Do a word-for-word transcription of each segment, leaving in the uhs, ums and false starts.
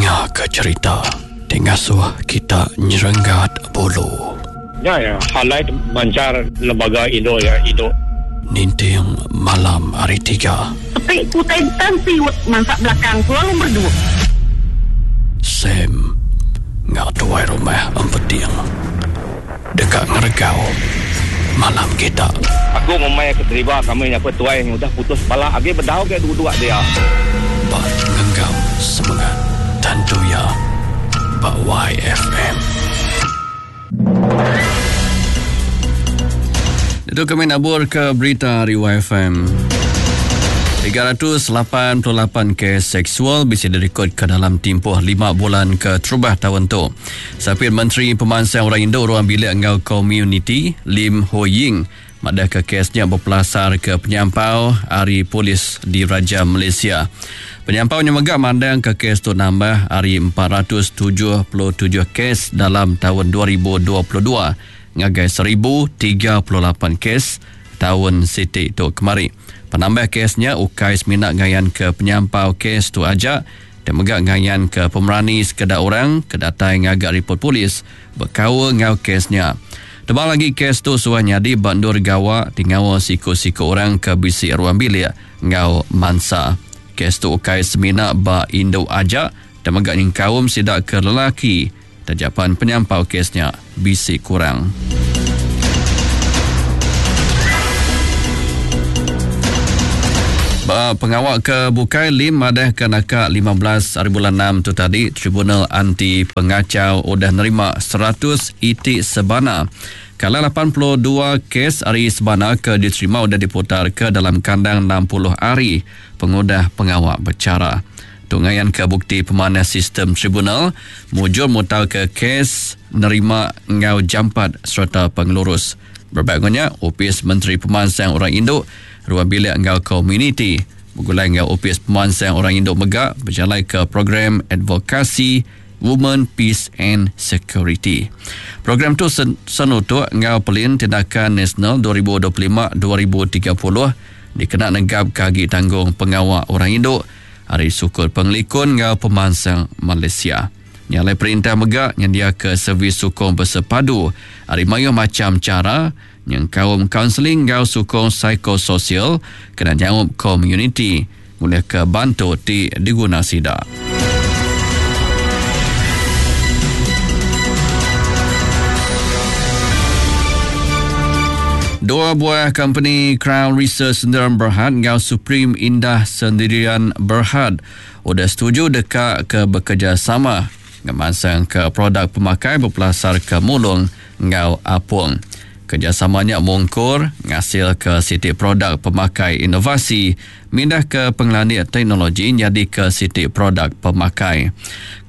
Ninga ke cerita ti ngasuh kita nyerenggat bulu. Ya ya, highlight mancar lembaga Indo ya Indo. Ninting malam hari tiga. Sepi kutai tan siut mansak belakang selalu berdua. Sam ngau tuai rumah empeting. Dekat ngeregau malam kita. Aku ngumai ke deriba kami apa tuai yang udah putus pala agi bedau ke duduk dia. Ba ngenggam semangat tentu ya ba Y F M. Itu kami nabur ke berita hari Y F M. tiga ratus lapan puluh lapan kes seksual bisa direkod ke dalam tempoh lima bulan ke terubah tahun tu. Sapit Menteri Pemansang Orang Indo Ruang Bilik Engau Community Lim Ho Ying madah ke kesnya berpelasar ke penyampau hari polis di Raja Malaysia. Penyampaunya megak mandang ke kes tu nambah hari empat ratus tujuh puluh tujuh kes dalam tahun dua ribu dua puluh dua ngagai seribu tiga puluh lapan kes tahun siti tu kemari. Penambah kesnya ukai semina ngayan ke penyampau kes tu aja dan megak ngayan ke pemerani sekedar orang kedatai ngagak report polis berkaul ngau kesnya. Tebal lagi kes tu suah nyadi bandur gawa tingawa siku-siku orang ke bisi ruang bilik ngau mansa. Kes tu ukai semina ba induk aja dan megak nyengkaum sidak ke lelaki. Tajapan penyampau kesnya bisi kurang. Ba pengawal ke bukai Lim madah ke naka lima belas hari bulan enam tu tadi Tribunal Anti Pengacau udah nerima seratus itik sebana. Kalau lapan puluh dua kes hari sebana ke diterima udah diputar ke dalam kandang enam puluh hari pengudah pengawal bercara. Tungayan ke bukti pemanah sistem tribunal mujur mutal ke kes nerima ngau jampat serta pengelurus. Berbagainya, Opis Menteri Pemansang Orang Induk Ruang Bilik Engau Community bergulai ngau Opis Pemansang Orang Induk Megak berjalan ke program advokasi Women, Peace and Security. Program tu sen-, senutuk ngau pelin tindakan nasional dua ribu dua puluh lima dua ribu tiga puluh dikena negap kagi tanggung pengawal orang induk hari syukur pengelikun ngau pemansang Malaysia. Nyalai perintah megak nyendia ke servis sukong bersepadu hari mayu macam cara yang kaum kaunseling ngau sukong psikososial kena jawab community boleh ke bantu ti diguna sida. Dua buah company Crown Research Sendirian Berhad ngau Supreme Indah Sendirian Berhad udah setuju dekat ke bekerjasama ngemansang ke produk pemakai berpelasar ke mulung ngau apung. Kerjasamanya mungkur ngasil ke siti produk pemakai inovasi mindah ke pengelani teknologi jadi ke siti produk pemakai.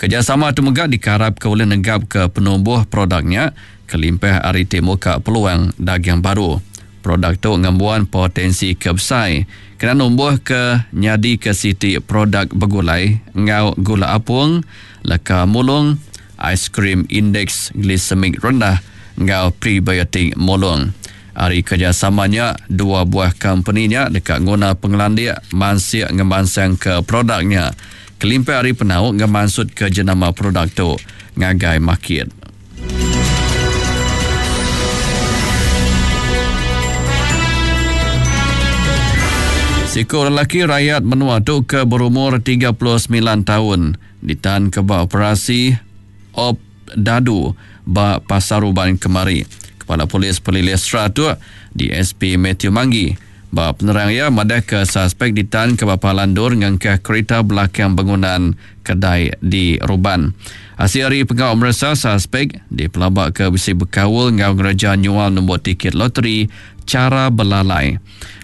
Kerjasama tu megak dikarap ke oleh negap ke penumbuh produknya kelimpah ari ti muka peluang dagang baru. Produk tu ngembuan potensi kebesai kena numbuh ke nyadi ke siti produk begulai ngau gula apung, leka mulung, aiskrim indeks glisemik rendah ngau prebiotik mulung. Ari kerjasamanya dua buah company-nya dekat nguna pengelandik mansik ngemansang ke produknya. Kelimpah ari penau ngemansut ke jenama produk tu ngagai market. Siku lelaki rakyat menua tu ke berumur tiga puluh sembilan tahun ditahan ke bak operasi Op Dadu bak Pasar Uban kemari. Kepala Polis Pelilih Seratuk D S P Matthew Manggi bak penerang ia madah ke suspek ditahan ke bapa landur ngangkah kereta belakang bangunan kedai di Ruban. Hasil hari pengawal meresa suspek dipelabak ke bisi berkawal ngau ngereja nyual nombor tiket loteri cara belalai.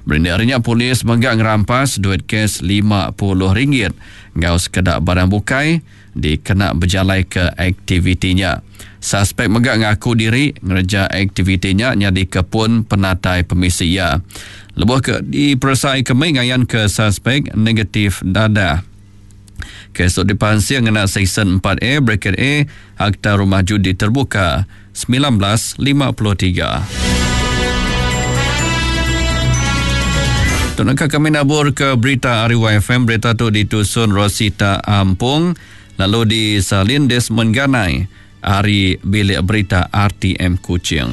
Berindarinya polis menggak ngerampas duit kes lima puluh ringgit ngau sekedak barang bukai dikena berjalai ke aktivitinya. Suspek megak ngaku diri ngereja aktivitinya nyadi kepun penatai permisi ia. Lebuh ke diperesai kemai ngayan ke suspek negatif dadah. Kes tu dipansir ngena Seksyen empat A bracket A Akta Rumah Judi Terbuka sembilan belas lima puluh tiga. Tu naka kami nabur ke berita ari Y F M. Berita tu ditusun Rosita Ampung lalu disalin Desmond Ganai ari Bilik Berita R T M Kuching.